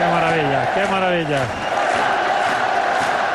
maravilla, qué maravilla.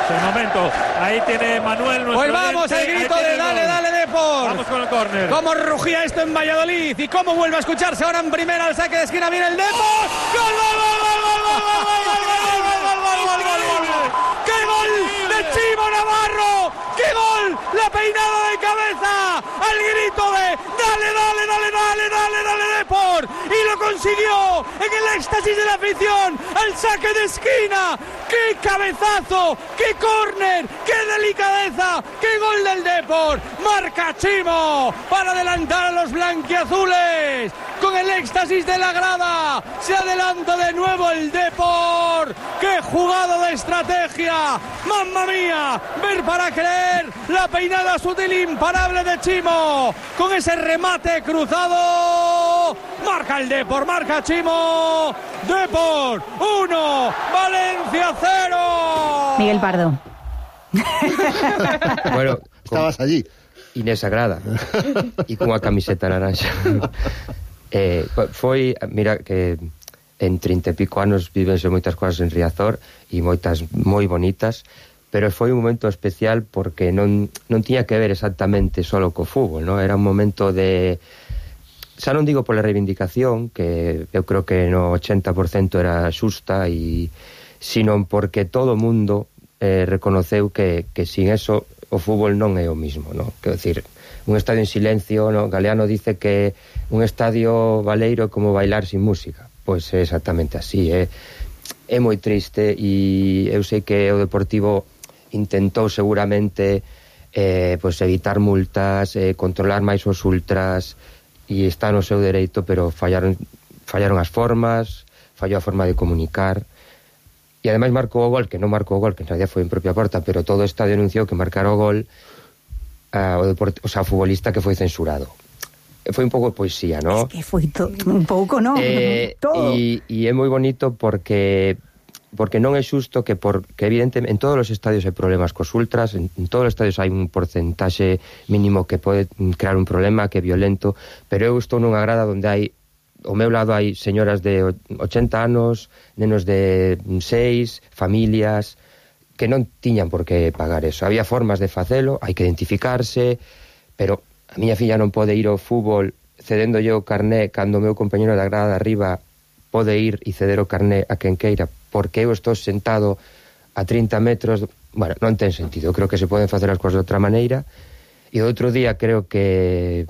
Es el momento. Ahí tiene Manuel. Pues vamos, el grito de dale Depor. Vamos con el córner. Cómo rugía esto en Valladolid y cómo vuelve a escucharse ahora en primera al saque de esquina. Viene el Depor. ¡Gol, gol, gol, gol, gol, gol, gol, gol, gol, gol, gol! ¡Qué gol de Chimo Navarro! ¡Qué gol! La peinada de cabeza al grito de dale Depor, y lo consiguió en el éxtasis de la afición al saque de esquina. ¡Qué cabezazo! ¡Qué córner! ¡Qué delicadeza! ¡Qué gol del Depor! Marca Chimo para adelantar a los blanquiazules. Con el éxtasis de la grada se adelanta de nuevo el Depor. ¡Qué jugada de estrategia! ¡Mamma mía! Ver para creer. La peinada sutil imparable de Chimo. Con ese remate cruzado. Marca el Depor, marca Chimo. Depor 1, Valencia 0. Miguel Pardo. Bueno, estabas allí. Inés Agrada. E cunha camiseta naranja. Foi, mira que en 30 e pico anos vivense moitas cousas en Riazor e moitas moi bonitas, pero foi un momento especial porque non tiña que ver exactamente solo co fútbol, non? Era un momento de, xa non digo pola reivindicación, que eu creo que no 80% era xusta, e sino porque todo o mundo reconoceu que sin eso o fútbol non é o mismo, non? Quero dicir, un estadio en silencio, non? Galeano dice que un estadio baleiro é como bailar sin música. Pois é exactamente así, é moi triste, e eu sei que o Deportivo intentou seguramente pois evitar multas, controlar máis os ultras, e está no seu dereito, pero fallaron as formas, fallou a forma de comunicar, e ademais marcou o gol, que non marcou o gol, que en realidad foi en propia porta, pero todo o estadio anunciou que marcar o gol o futbolista que foi censurado. Foi un pouco de poesía, non? Es que foi un pouco, non? Todo. E é moi bonito porque non é xusto que evidentemente en todos os estadios hai problemas cos ultras, en todos os estadios hai un porcentaxe mínimo que pode crear un problema, que é violento, pero eu estou nunha grada onde hai, ao meu lado hai señoras de 80 anos, nenos de 6, familias que non tiñan por que pagar eso. Había formas de facelo, hai que identificarse, pero a miña filla non pode ir ao fútbol cedendo yo o carné cando o meu compañero da grada de arriba pode ir e ceder o carné a quen queira, porque eu estou sentado a 30 metros. Bueno, non ten sentido. Eu creo que se poden facer as cousas de outra maneira, e outro día creo que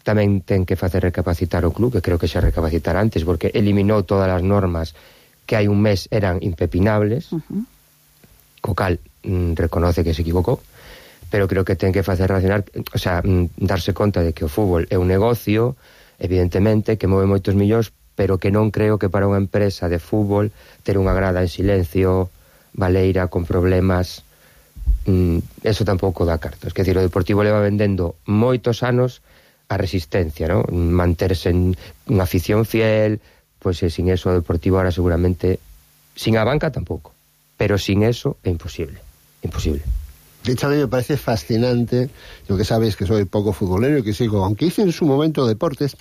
tamén ten que facer recapacitar o club, que creo que xa recapacitar antes, porque eliminou todas as normas que hai un mes eran impepinables, co cal reconoce que se equivocou, pero creo que ten que facer racionar, o sea, darse conta de que o fútbol é un negocio, evidentemente, que move moitos millóns, pero que non creo que para unha empresa de fútbol ter unha grada en silencio, baleira, con problemas, eso tampouco dá cartos. Quer dizer, o Deportivo leva vendendo moitos anos a resistencia, non? Manterse en unha afición fiel, pois sin eso o Deportivo ahora seguramente, sin a banca tampouco, pero sin eso é imposible. De hecho, a mí me parece fascinante, yo que sabéis que soy poco futbolero y que sigo, aunque hice en su momento deportes,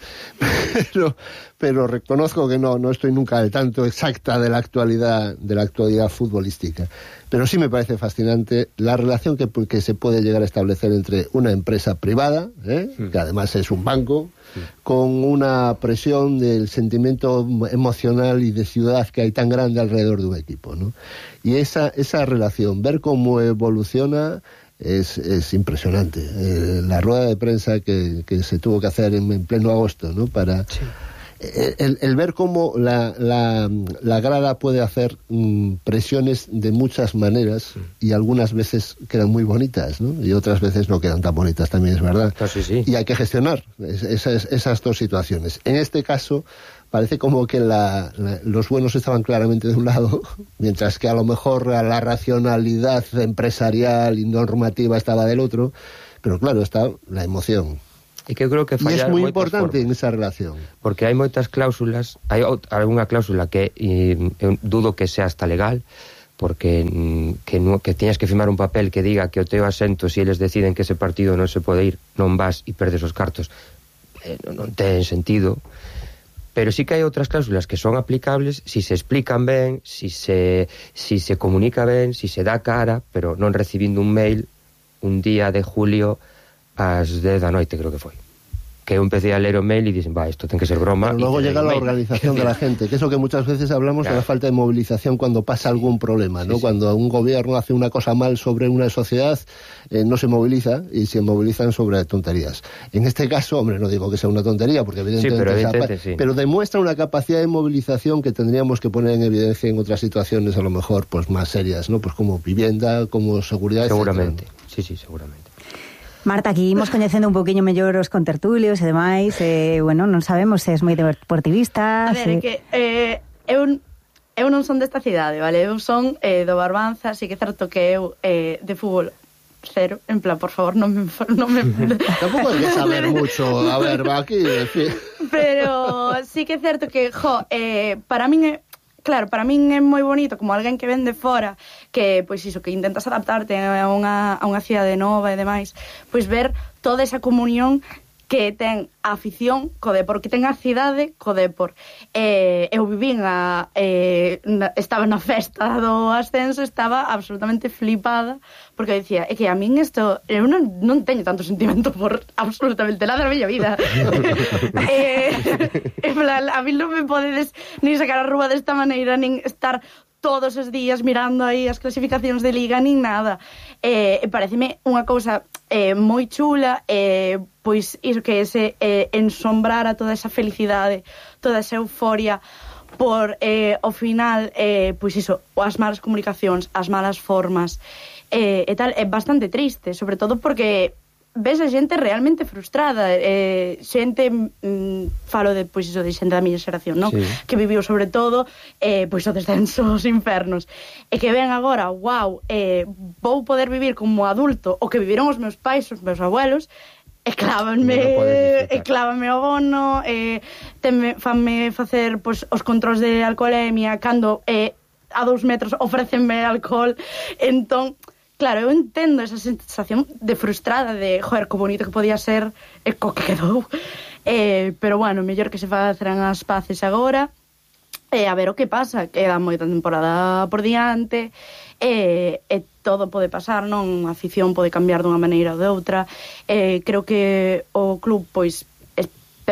pero reconozco que no estoy nunca al tanto exacta de la actualidad futbolística. Pero sí me parece fascinante la relación que se puede llegar a establecer entre una empresa privada, que además es un banco, con una presión del sentimiento emocional y de ciudad que hay tan grande alrededor de un equipo, ¿no? Y esa relación, ver cómo evoluciona, es impresionante. La rueda de prensa que se tuvo que hacer en pleno agosto, ¿no? Para el ver cómo la grada puede hacer presiones de muchas maneras, y algunas veces quedan muy bonitas, ¿no? Y otras veces no quedan tan bonitas, también es verdad. Sí. Y hay que gestionar esas dos situaciones. En este caso parece como que los buenos estaban claramente de un lado, mientras que a lo mejor la racionalidad empresarial y normativa estaba del otro, pero claro, está la emoción. E que eu creo que fallar es muy importante en esa relación, porque hai moitas cláusulas, hai algunha cláusula que eu dudo que sea hasta legal, porque que teñas que firmar un papel que diga que o teu asento, se eles deciden que ese partido non se pode ir, non vas e perdes os cartos, non ten sentido. Pero sí que hai outras cláusulas que son aplicables si se explican ben, si se comunica ben, si se dá cara, pero non recibindo un mail un día de julio ás 10 da noite, creo que foi. Que eu empecé a leer o mail y dicen, esto tiene que ser broma. Pero luego llega la organización de la gente, que es lo que muchas veces hablamos de la falta de movilización cuando pasa algún problema, ¿no? Sí. Cuando un gobierno hace una cosa mal sobre una sociedad, no se moviliza y se movilizan sobre tonterías. En este caso, hombre, no digo que sea una tontería, porque evidentemente, pero demuestra una capacidad de movilización que tendríamos que poner en evidencia en otras situaciones, a lo mejor, pues más serias, ¿no? Pues como vivienda, como seguridad, seguramente, etcétera. Sí, seguramente. Marta, aquí imos coñecendo un poquinho mellor os contertulios e demais, bueno, non sabemos se és moi deportivista. A ver, que eu non son desta cidade, vale? Eu son do Barbanza, así que é certo que eu de fútbol cero, en plan, por favor, non me tampouco hai que saber mucho, a ver, va aquí, pero sí que é certo que, para min é claro, para min é moi bonito como alguén que ven de fora, que pois iso, que intentas adaptarte a unha cidade nova e demais, pois ver toda esa comunión que ten a afición co Depor, que ten a cidade co Depor. Eu vivín estaba na festa do ascenso, estaba absolutamente flipada, porque dicía, é que a min isto, eu non teño tanto sentimento por absolutamente nada na miña vida. A mí non me podedes nin sacar a rúa desta maneira, nin estar todos os días mirando aí as clasificacións de Liga, nin nada. Pareceme unha cousa moi chula, pois iso que ese ensombrar a toda esa felicidade, toda esa euforia por, ao final, pois iso, as malas comunicacións, as malas formas e tal, é bastante triste, sobre todo porque ves a xente realmente frustrada, xente, falo de, pois iso, de xente da miña xeración, non? Sí. Que viviu sobre todo pois o descenso aos infernos, e que ven agora, vou poder vivir como adulto o que viviron os meus pais, os meus abuelos, e clávame o bono, fanme facer pois os controls de alcoholemia cando a 2 metros ofrécenme alcohol. Entón, claro, eu entendo esa sensación de frustrada, de, joder, co bonito que podía ser e co que quedou. Pero, bueno, mellor que se faceran as paces agora, a ver o que pasa. Queda moita temporada por diante, e todo pode pasar, non? A afición pode cambiar dunha maneira ou de outra. Creo que o club, pois,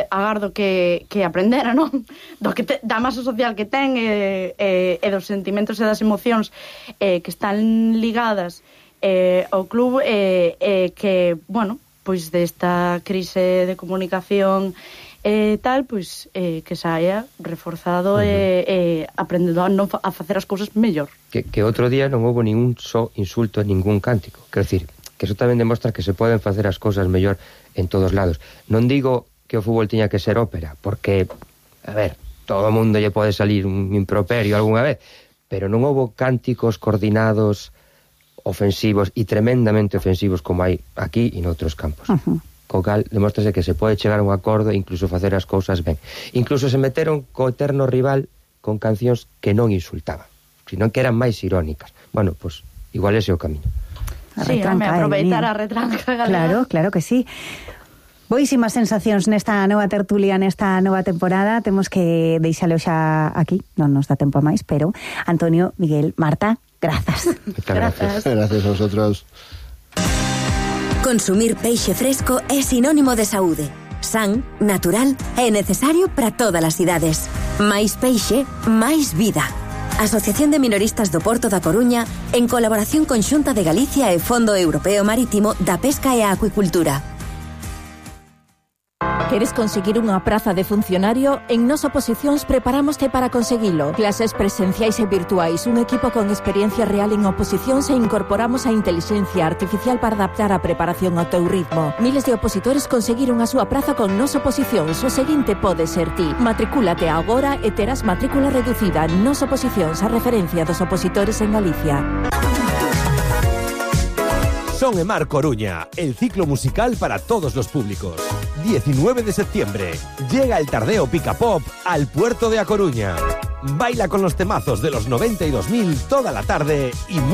agardo que aprendera, non? Da masa social que ten e dos sentimentos e das emocións que están ligadas ao club, que, bueno, pois desta crise de comunicación tal, pois que saia reforzado e aprendendo a facer as cousas mellor. Que outro día non houve ningún só insulto en ningún cántico. Quero dicir, que eso tamén demostra que se poden facer as cousas mellor en todos lados. Non digo que o fútbol tiña que ser ópera, porque, a ver, todo o mundo lle pode salir un improperio algunha vez, pero non houve cánticos coordinados, ofensivos e tremendamente ofensivos como hai aquí e noutros campos. Co cal demostrase que se pode chegar a un acordo e incluso facer as cousas ben. Incluso se meteron co eterno rival con cancións que non insultaban, sino que eran máis irónicas. Bueno, pois igual ese é o camiño. Sí, aproveitar a retranca, galera. Claro que sí. Boísimas sensacións nesta nova tertulia, nesta nova temporada. Temos que deixalo xa aquí, non nos dá tempo a máis, pero Antonio, Miguel, Marta, grazas. Gracias a vosotros. Consumir peixe fresco é sinónimo de saúde. San, natural e necesario para todas as idades. Máis peixe, máis vida. Asociación de Minoristas do Porto da Coruña, en colaboración con Xunta de Galicia e Fondo Europeo Marítimo da Pesca e a Acuicultura. Queres conseguir unha praza de funcionario? En Nos Oposicións preparámoste para conseguilo. Clases presenciais e virtuais, un equipo con experiencia real en oposicións e incorporamos a intelixencia artificial para adaptar a preparación ao teu ritmo. Miles de opositores conseguiron a súa praza con Nos Oposicións. O seguinte pode ser ti. Matricúlate agora e terás matrícula reducida. Nos Oposicións, a referencia dos opositores en Galicia. Son e Mar Coruña, el ciclo musical para todos los públicos. 19 de septiembre, llega el Tardeo Pica Pop al puerto de A Coruña. Baila con los temazos de los 92.000 toda la tarde y